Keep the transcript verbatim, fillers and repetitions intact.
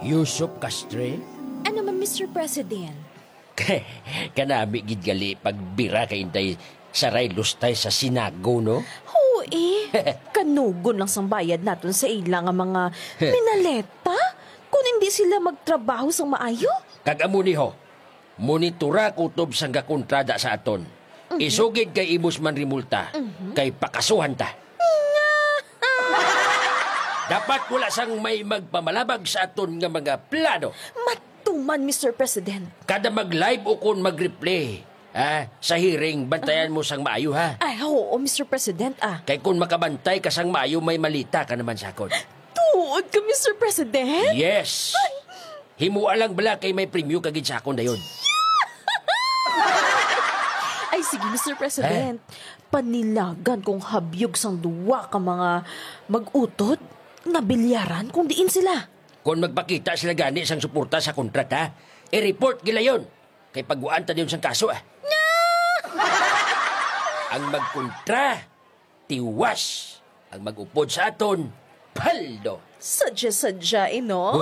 Yusuf Castre? Ano man, Mister President? Kanami gid gali pagbira kay Inday Saray Lustay sa Sinago, no? Oo, eh. Kanugon lang sang bayad naton sa ila nga mga minaleta kung hindi sila magtrabaho sang maayo. Kag amo ni ho, monitora kutob sang gakontrada sa aton. Mhm. Isugid kay imos man rimulta, Mhm. kay pakasuhan ta. Dapat wala sang may magpamalabag sa aton nga mga plano. Matuman, Mister President. Kada mag-live o kon mag-replay, ha, sa hearing, bantayan mo sang maayo, ha? Ay, oo, Mister President, ah. Kay kung makabantay ka sang maayo, may malita ka naman sa akon. Tuod ka, Mister President? Yes! Himoa lang bala kay may premyo ka gid sa akon dayon. Ay, sige, Mister President. Panilagan kong habyog sang duwa ka mga mag-utod nga bilyaran kung diin sila. Kon magpakita sila gani sang suporta sa kontra ta, i-report gilayon. Kay pagwaan ta dayon sang kaso, ah. Ang magkontra, tiwas. Ang mag-upod sa aton, paldo. Sadya-sadya, eh, no?